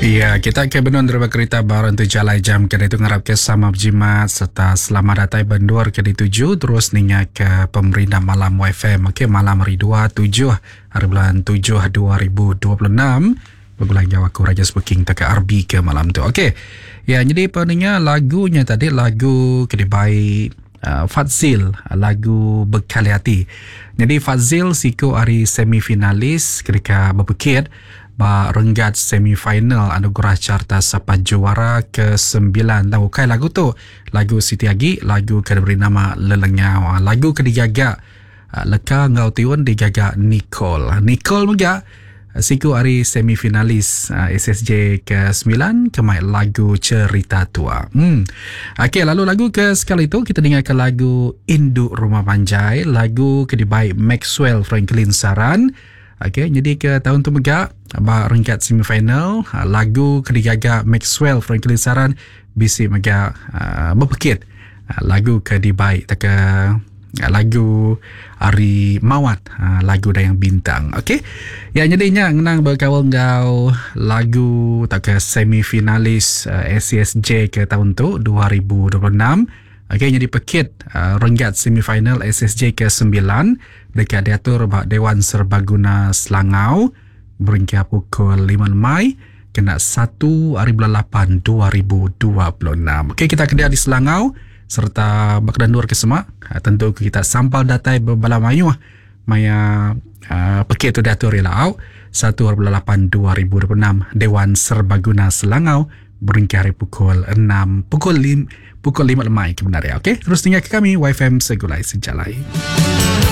Iya, kita ke benung deriba kerita ba rentu jalai jam ke ditu ngarap ke sama bejimat serta selamat datai ba endur ke dituju terus ninga ke pemerindang malam YFM. Okey, malam hari 2 7 hari bulan 7 2026 begulai enggau aku Raja Speaking tauka RB ke malam tu. Okey. Ya, jadi peninga lagunya tadi lagu ke dibai uh, Fadzil lagu Bekali Hati. Jadi Fadzil siku ari semifinalis ketika bepekit Ba renggat semi final Anugerah Carta Sapa Juara ke sembilan tang ukai lagu tu lagu siti agi lagu ke diberi nama Lelengau. Lagu ke digaga leka enggau tiun digaga Nicole. Nicole mega siku ari semi finalis SSJ ke sembilan ke mai lagu Cerita Tua. Hmm. Okey lalu lagu ke sekali tu kita dengarka lagu Indu Rumah Panjai lagu ke dibai Maxwell Franklin Saran. Okey, nyadi ke taun tu mega ba renggat semifinal lagu ke digaga Maxwell Franklin Saran bisi mega uh, bepekit uh, lagu ke dibai tauka lagu ari Mawat uh, lagu Dayang Bintang. Okey. Ya nyadi nya ngenang bekaul enggau lagu tauka semifinalis uh, ACSJ ke taun tu 2026. Okey nyadi pekit uh, renggat semifinal SSJ ke 9 deka diatur ba Dewan Serbaguna Selangau berengkah pukul lima lemai kena satu hari bulan lapan 2026. Okey kita kedia di Selangau sereta ba kena endur ke semak tentu kita sampal datai bebala mayuh maya uh, pekit tu diatur ila au satu hari bulan lapan 2026 Dewan Serbaguna Selangau berengkah hari pukul 6 pukul 5 pukul 5 lemai ke benar ya. Okey terus tinggal ke kami YFM Segulai Sejalai.